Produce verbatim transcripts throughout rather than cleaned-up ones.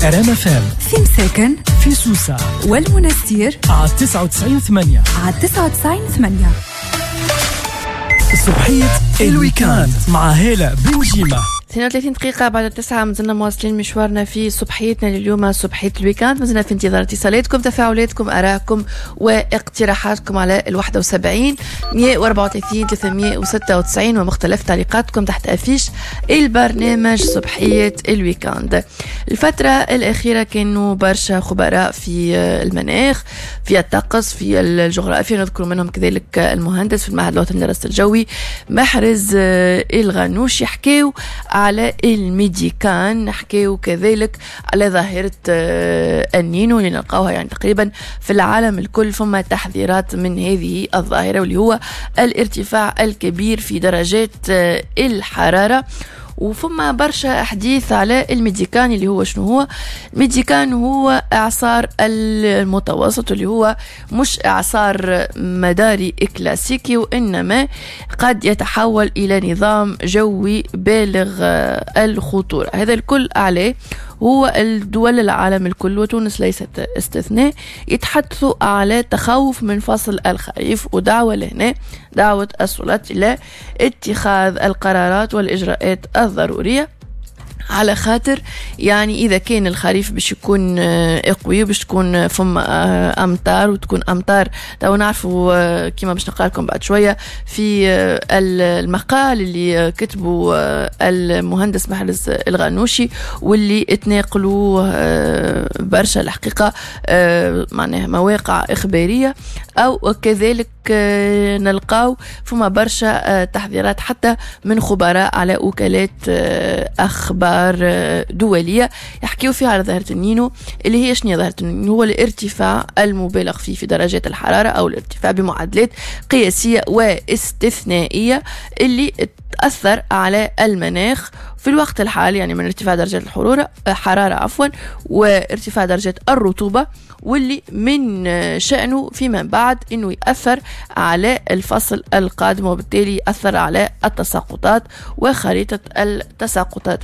ار ام اف ام في مساكن، في سوسة والمنستير على تسعة وتسعين ثمانية، على تسعة وتسعين ثمانية. صبحية ال week-end مع هالة بنجيمة. اثنين وثلاثين دقيقة بعد التسعة مازلنا مواصلين مشوارنا في صبحيتنا لليوم، صبحية ال week-end. مازلنا في انتظار اتصالاتكم، تفاعلاتكم، آرائكم واقتراحاتكم على الواحد وسبعين مية وأربعة وثلاثين ثلاثمية وستة وتسعين ومختلف تعليقاتكم تحت affiche البرنامج صبحية ال week-end. الفترة الأخيرة كانوا برشا خبراء في المناخ، في الطقس، في الجغرافيا، نذكر منهم كذلك المهندس في المعهد الوطني للرصد الجوي محرز الغنوش، يحكيو على الميديكان، نحكيو كذلك على ظاهرة النينو اللي نلقاوها يعني تقريبا في العالم الكل، فما تحذيرات من هذه الظاهرة واللي هو الارتفاع الكبير في درجات الحرارة. وفما برشا أحاديث على الميديكان اللي هو شنو هو الميديكان؟ هو إعصار المتوسط اللي هو مش إعصار مداري كلاسيكي، وإنما قد يتحول إلى نظام جوي بالغ الخطورة. هذا الكل عليه هو الدول العالم الكل وتونس ليست استثناء يتحدثوا على تخوف من فصل الخريف، ودعوة لهنا دعوة السلطات إلى اتخاذ القرارات والإجراءات الضرورية، على خاطر يعني إذا كان الخريف باش يكون قوي باش تكون فما أمطار، وتكون أمطار تو نعرفوا كما باش نقرأ لكم بعد شوية في المقال اللي كتبه المهندس محرز الغنوشي واللي اتناقلوه برشا الحقيقة معناها مواقع إخبارية، أو كذلك نلقاو فما برشا تحذيرات حتى من خبراء على وكالات أخبار دولية يحكيو فيها على ظاهرة النينو اللي هي شنو ظاهرة النينو؟ هو الارتفاع المبالغ فيه في درجات الحرارة أو الارتفاع بمعدلات قياسية واستثنائية اللي تأثر على المناخ في الوقت الحالي، يعني من ارتفاع درجات الحرارة حرارة عفوا وارتفاع درجات الرطوبة، واللي من شأنه فيما بعد أنه يأثر على الفصل القادم، وبالتالي يأثر على التساقطات وخريطة التساقطات.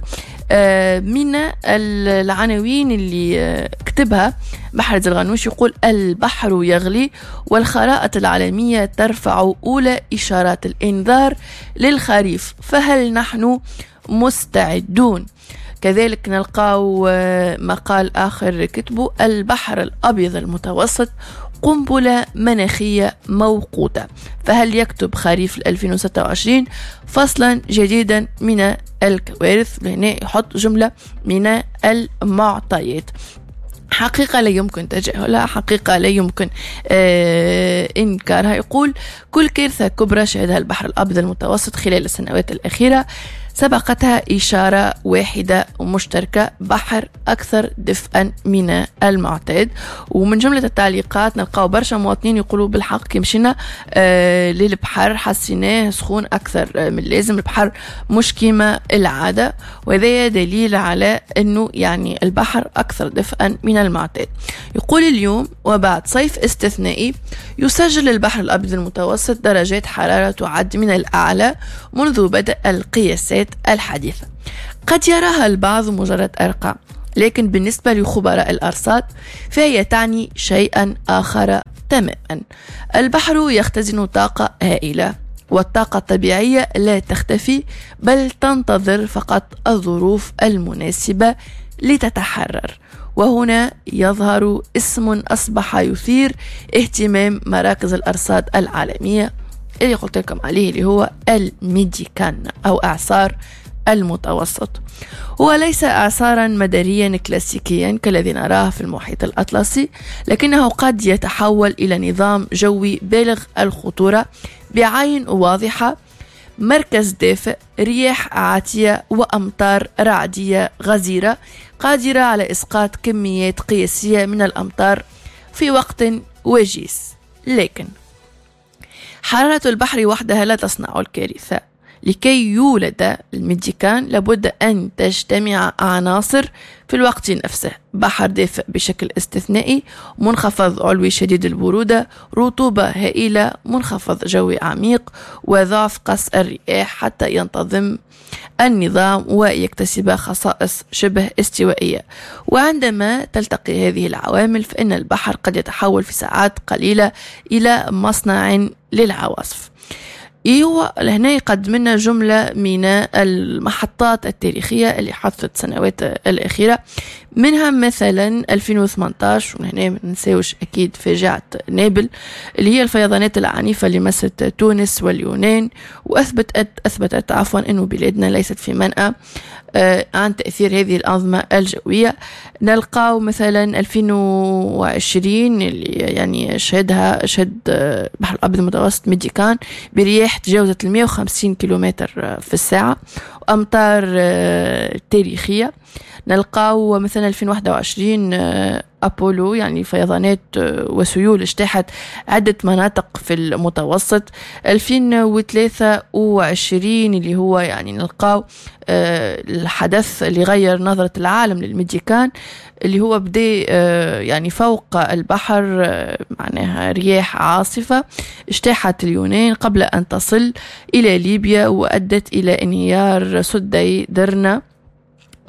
من العناوين اللي كتبها محرز الغنوش يقول: البحر يغلي والخرائط العالمية ترفع أولى إشارات الإنذار للخريف، فهل نحن مستعدون؟ كذلك نلقاو مقال آخر كتبه: البحر الأبيض المتوسط قنبلة مناخية موقوتة، فهل يكتب خريف ألفين وستة وعشرين فصلا جديدا من الكوارث؟ هنا يحط جملة من المعطيات. حقيقة لا يمكن تجاهلها، حقيقة لا يمكن آه إنكارها. يقول: كل كارثة كبرى شهدها البحر الأبيض المتوسط خلال السنوات الأخيرة سبقتها إشارة واحدة مشتركة: بحر أكثر دفئا من المعتاد. ومن جملة التعليقات نلقاو برشا مواطنين يقولوا بالحق كي مشينا آه للبحر حسيناه سخون أكثر من اللازم، البحر مش كيما العادة، وهذا دليل على أنه يعني البحر أكثر دفئا من المعتاد. يقول: اليوم وبعد صيف استثنائي يسجل البحر الأبيض المتوسط درجات حرارة تعد من الأعلى منذ بدء القياسات الحديثة. قد يراها البعض مجرد أرقام، لكن بالنسبة لخبراء الأرصاد فهي تعني شيئا آخر تماما. البحر يختزن طاقة هائلة، والطاقة الطبيعية لا تختفي بل تنتظر فقط الظروف المناسبة لتتحرر. وهنا يظهر اسم أصبح يثير اهتمام مراكز الأرصاد العالمية اللي قلت لكم عليه، اللي هو الميديكان أو إعصار المتوسط. هو ليس إعصارا مداريا كلاسيكيا كالذي نراه في المحيط الأطلسي، لكنه قد يتحول إلى نظام جوي بالغ الخطورة بعين واضحة، مركز دافئ، رياح عاتية وأمطار رعدية غزيرة قادرة على إسقاط كميات قياسية من الأمطار في وقت وجيز. لكن حرارة البحر وحدها لا تصنع الكارثة. لكي يولد الميديكان لابد أن تجتمع عناصر في الوقت نفسه: بحر دافئ بشكل استثنائي، منخفض علوي شديد البرودة، رطوبة هائلة، منخفض جوي عميق، وضعف قص الرياح حتى ينتظم النظام ويكتسب خصائص شبه استوائية. وعندما تلتقي هذه العوامل فإن البحر قد يتحول في ساعات قليلة إلى مصنع للعواصف. إيوه لهنا يقدم لنا جملة من المحطات التاريخية اللي حدثت السنوات الأخيرة، منها مثلا ألفين وثمانية عشر، وهنا ما ننساوش أكيد فاجعة نابل اللي هي الفيضانات العنيفة اللي مست تونس واليونان، وأثبتت أثبتت عفوا أنه بلادنا ليست في منأى عن تأثير هذه الأنظمة الجوية. نلقاو مثلا ألفين وعشرين اللي يعني شهدها شهد البحر الأبيض المتوسط ميديكان برياح تجاوزت المئة وخمسين كيلومتر في الساعة وأمطار تاريخية. نلقاو مثلا ألفين وواحد وعشرين أبولو، يعني فيضانات وسيول اجتاحت عدة مناطق في المتوسط. ألفين وثلاثة وعشرين اللي هو يعني نلقاو الحدث اللي غير نظرة العالم للميديكان، اللي هو بدأ يعني فوق البحر، معناها رياح عاصفة اجتاحت اليونان قبل أن تصل إلى ليبيا وأدت إلى انهيار سدي درنا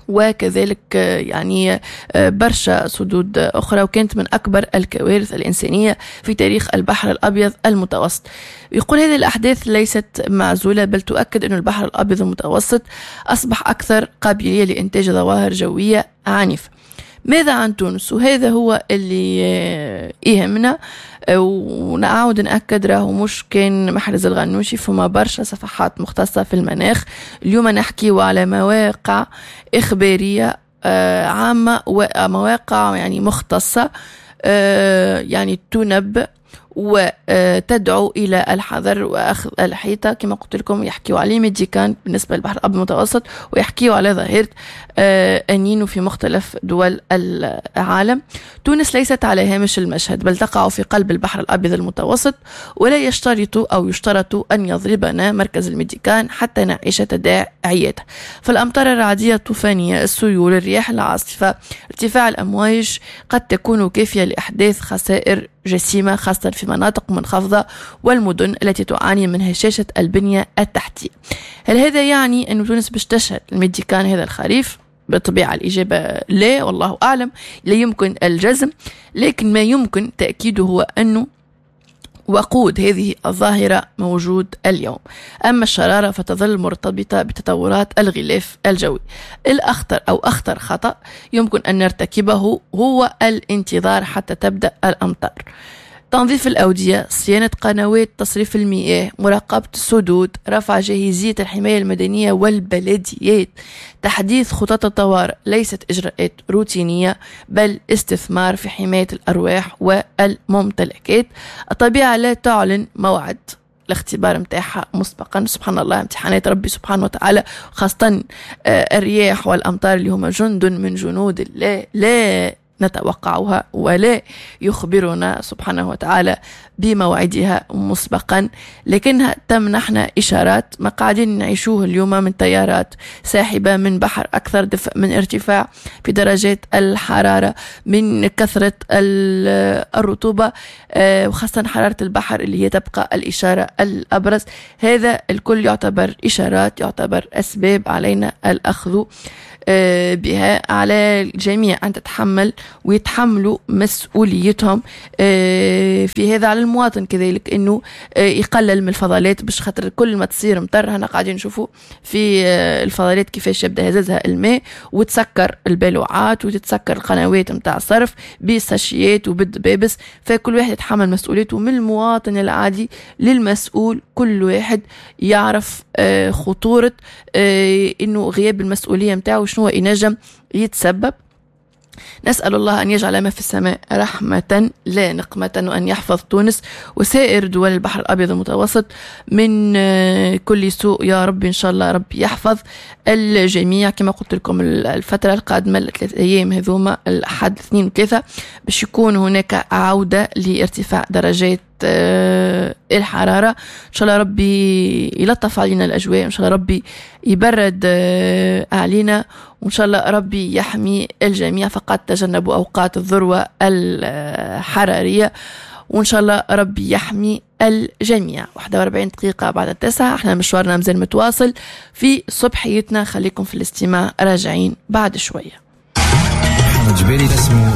وكذلك يعني برشا سدود أخرى، وكانت من أكبر الكوارث الإنسانية في تاريخ البحر الأبيض المتوسط. يقول هذه الأحداث ليست معزولة، بل تؤكد أن البحر الأبيض المتوسط أصبح أكثر قابلية لإنتاج ظواهر جوية عنيفة. ماذا عن تونس؟ وهذا هو اللي يهمنا، ونعاود نأكد راهو مش كان محرز الغنوشي، فما برشا صفحات مختصة في المناخ. اليوم نحكي على مواقع إخبارية عامة ومواقع يعني مختصة يعني تنبئ وتدعو إلى الحذر وأخذ الحيطة. كما قلت لكم يحكيوا على ميديكان بالنسبة للبحر الأبيض المتوسط، ويحكيوا على ظاهرة النينو في مختلف دول العالم. تونس ليست على هامش المشهد، بل تقع في قلب البحر الأبيض المتوسط، ولا يشترط أو يشترط أن يضربنا مركز الميديكان حتى نعيش تداعياته. فالأمطار الرعدية الطوفانية، السيول، الرياح العاصفة، ارتفاع الأمواج قد تكون كافية لإحداث خسائر جسيمة، خاصة في مناطق منخفضة والمدن التي تعاني من هشاشة البنية التحتية. هل هذا يعني أن تونس باش تشهد الميديكان هذا الخريف؟ بالطبيعة الإجابة لا، والله أعلم، لا يمكن الجزم، لكن ما يمكن تأكيده هو أنه وقود هذه الظاهرة موجود اليوم. أما الشرارة فتظل مرتبطة بتطورات الغلاف الجوي. الأخطر أو أخطر خطأ يمكن أن نرتكبه هو الانتظار حتى تبدأ الأمطار. تنظيف الأودية، صيانة قنوات تصريف المياه، مراقبة السدود، رفع جاهزية الحماية المدنية والبلديات، تحديث خطط الطوارئ ليست إجراءات روتينية، بل استثمار في حماية الأرواح والممتلكات. الطبيعة لا تعلن موعد الاختبار متاعها مسبقا. سبحان الله، امتحانات ربي سبحانه وتعالى، خاصة الرياح والأمطار اللي هما جند من جنود الله لا نتوقعها ولا يخبرنا سبحانه وتعالى بموعدها مسبقا، لكنها تمنحنا إشارات ما قاعدين نعيشوه اليوم من تيارات ساحبة، من بحر أكثر دفء، من ارتفاع في درجات الحرارة، من كثرة الرطوبة، وخاصة حرارة البحر اللي هي تبقى الإشارة الأبرز. هذا الكل يعتبر إشارات، يعتبر أسباب علينا الأخذ بها. على الجميع أن تتحمل ويتحملوا مسؤوليتهم في هذا. على المواطن كذلك أنه يقلل من الفضلات، باش خاطر كل ما تصير مطر هنا قاعدين نشوفوا في الفضلات كيفاش يبدأ هزازها الماء وتسكر البلوعات وتتسكر القنوات متاع الصرف بالساشيات وبالدبابس. فكل واحد يتحمل مسؤوليته، من المواطن العادي للمسؤول، كل واحد يعرف خطورة أنه غياب المسؤولية متاعه شنو ينجم يتسبب. نسأل الله أن يجعل ما في السماء رحمة لا نقمة، وأن يحفظ تونس وسائر دول البحر الأبيض المتوسط من كل سوء يا رب. إن شاء الله رب يحفظ الجميع. كما قلت لكم الفترة القادمة الثلاث أيام هذوما، الأحد اثنين وثلاثة، باش يكون هناك عودة لارتفاع درجات الحرارة. إن شاء الله ربي يلطف علينا الأجواء، إن شاء الله ربي يبرد علينا، وإن شاء الله ربي يحمي الجميع. فقط تجنبوا أوقات الذروة الحرارية. وإن شاء الله ربي يحمي الجميع. واحد وأربعين دقيقة بعد التسعة، احنا مشوارنا مازال متواصل في صبحيتنا، خليكم في الاستماع، راجعين بعد شوية. محمد جبالي اسمه.